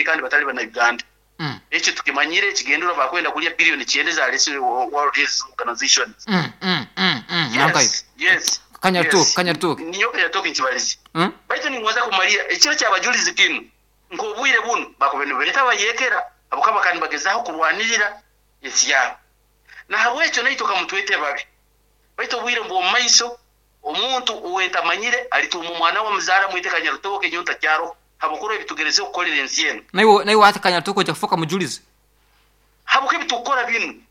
kandi batali Bannayuganda. Ekyo tukimanyire, ekigendererwa baakwenda kurya billion kyenda ezaretsirwe World Health Organization. Yes, yes, yes. Ninyowe Kanyarutooke nkibarize. Baitu ningonza kumalira ekiro ky'abajurizi kinu, nk'obwire bunu bakubaire nibeeta abayeekera habwokuba bakaba nibagezaho kurwanirira ensi yaabo. Nahabwekyo naitwe kamutwete babi. Baitu obwire bw'omu maiso, omuntu owentamanyire alituuma omwana we amuzaare amwete Kanyarutooke nyowe ntakyaroho habwokuba ebitugerezeho kukorera ensi enu. Naiwe hati Kanyarutooke oija kufooka mujulizi? Habwokuba ebitukukora binu,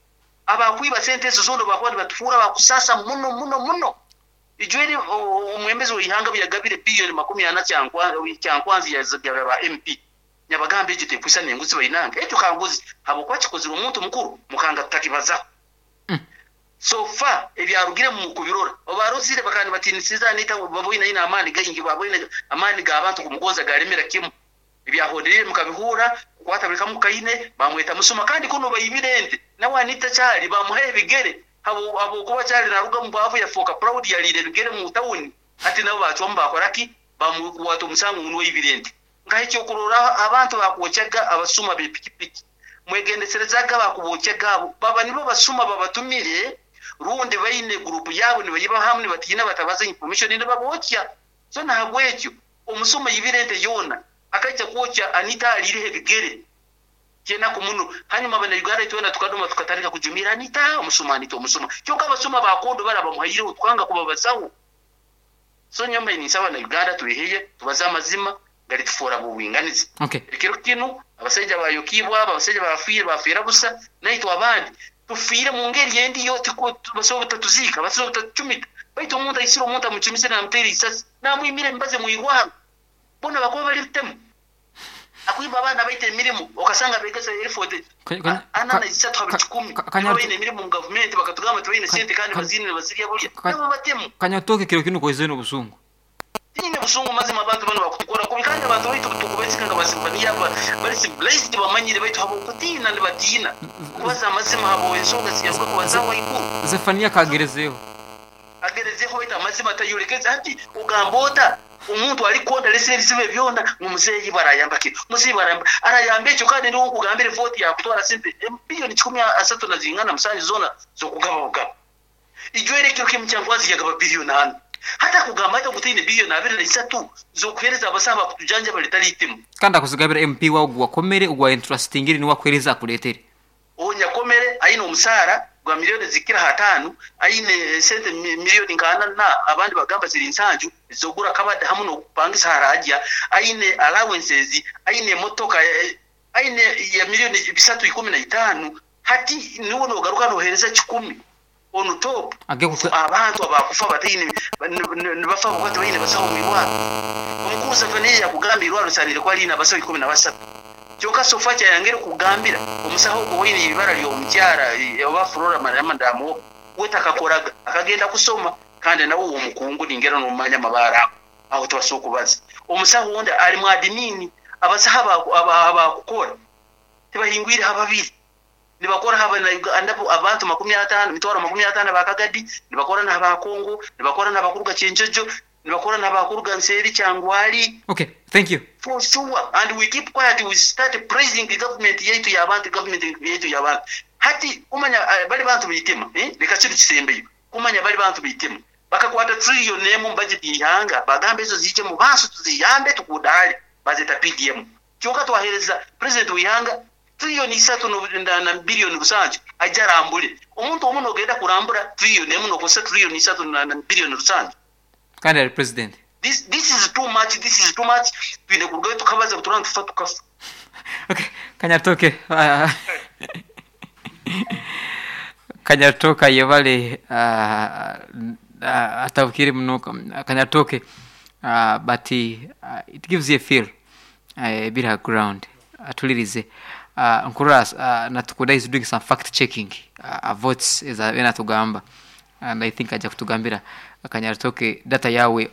abakwiba sente ezo zoona obu bakuba nibatufuura abakusaasa muno muno muno. Ijweri omwembezi w'eihanga obu yagabire billion 40 Kyankwanzi yazigabira ba MP. Nyabagamba egyo tekwisana enguzi bainange. Ekyo kanguzi habwokuba kikozirwe omuntu mukuru mukanga tutakibazaho. So far ebyarugiremu mukubirora. Obarozire bakaba nibatiinisiriza Anita ngu baboine aine amaani gaingi, baboine amaani g'abantu kumugonza galemera kimu. Ebyahonderiire mukabihuura, kukwata buli kamu kaine, bamweta musuma kandi kunu baibire ente. Nawe Anita Kyali bamuhaho ebigere habwokuba Kyali naruga omu bwavu yafooka proud yaliire ebigere mu tawuni hati nabo bacwamu bakora ki? Bamukwata omusango ngu nuwe aibire ente. Nkaha ekyokurorraho abantu abakwokyaga abasuma b'epikipiki. Mwegendeserezaga abakubokyaga abo, baba nibo basuma babatumire rundi baine gurupu yabo nibayiba hamu nibatiina batabaza information nibabokya. So nahabwekyo omusuma aibire ente yoona akaija kwokya Anita aliireho ebigere. Kyenaku muno. Hanyuma abana Uganda itwena tukadoma tukatandika kujumiira Anita omusuma Anita omusuma. Kyonka abasuma ba kondo bari abamuhaireho tukanga kubabazaho. So nyowe mbaire ninsaba abana Uganda tweheye tubaze amazima garitufoora ab'obwinganiza. Ekiro kinu abasaija abayokiibwe abo, abasaija abafiire bafiira busa, naitwe abandi tufiire mu ngeri endi yo basobora obutatuziika, basobora obutatucumita. Baitu omuntu aisire omuntu amucumisire namuteera isasi, namwimira emibazi omu irwarro, boona bakuba bali bitemu. Akwiba abaana baitu emirimo, okasanga abegesa erifu ana na isatu ha buli kikumi nibo baine emirimo omu gavumenti, bakatugamba tibaine sente kandi baziine nibazirya bulya, nabo batemu. Kanyatoke kiro kinu koize nobusungu. Tinyine busungu mazima abantu banu bakutukora kubi kandi abantu baitu tukubesiga nka basivaniya bari civilized bamanyire baitu habwokutiina nibatiina kubaza amazima habwe ensonga ziyaruga kubazaho haiguru. Zefaniya kagerezeho. Agerezeho baitu amazima tayolekeze hati ogamba ota omuntu arikukonda aresire ebizibu ebi byona ngu muzeeyi iba arayamba ki muzeeyi iba arayamba arayamba ekyo kandi niwe okugambire vote yakutwara sente billion kikumi asatu na zingana musanju zona zokugaba bugaba. Ijwere ekiro kimu Kyankwanzi yagaba billion ana. Hati akugamba ata ngu taine billion 23 z'okuheereza abasaho abakutujanjaba ritari itimu? Kandi akuzigabira MP wawe ogu wakomere, ogu wa entrustingire niwe akuheereza akureetere. Ou nyakomere aine omusaara gwa million zikukira aha ataano, aine sente million nka ana na abandi bagamba ziri nsanju ez'okugura akabada hamu n'okupangisa aharaagya, aine allowances, aine emotoka, aine ya million bisatu ikumi na itaano. Hati niwe nogaruka nohereza kikumi on top abantu abakufa bataine nibafa habwokuba tibaine basaho omu irwarro. Omukuru Zephaniah yakugamba eirwarro risanire kuba riine abasaho 13. Kyonka so far kyayangire kukugambira omusaho ogwo owaine eibara ryomukyara oba Flora Mariama Ndamuoba we takakoraga akagenda kusoma kandi nawe womukungu ningira nomumanya amabaare ago aho tibasobola kubaza. Omusaho ondi ari mu admin abasaho abakukora tibahingwire ha babiri. Nibakora ha Banauganda abantu 50, 500,000 aba Kagadi, nibakora na ba Congo, nibakora na bakuruga Kyenjojo, nibakora na bakuruga nseeri Kyangwali. Okay, thank you. For sure and we keep quiet we start praising government yaitu y'abantu, government yaitu y'abantu. Hati kumanya bari bantu b'eitima, eh, leka kinu kisembeyo. Kumanya bari bantu b'eitima. Bakakwata trillion emu omu budget y'eihanga bagamba ezo ziije mu bantu tuziyambe tukudaale, bazeta PDM. Kyonka twahereza president w'eihanga Trillion isatu na billion rusanju aije arambure. Omuntu omu nogenda kurambura trillion emu nokozesa trillion isatu na billion rusanju? Kandi ari president. This this is too much this is too much twine kurugayo tukabaza buturaba nitufa tukafa. Okay, Kanyatoke Kanyatoke ayebale atabukire muno Kanyatoke but it gives you a feel ebiri aha ground atulirize nkurora natukunda is doing some fact checking votes ezi natugamba and I think aja kutugambira Kanyatoke data yawe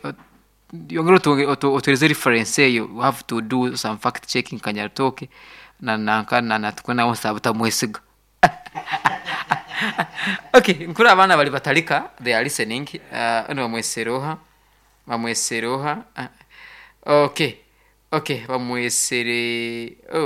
yongera otuhereze reference eyo we have to do some fact checking Kanyatoke na nanka na natukunda nawe nsaba butamwesiga okay nkuri abaana bari batarika they are listening uh, bamweseroha bamweseroha okay okay bamwesere oh.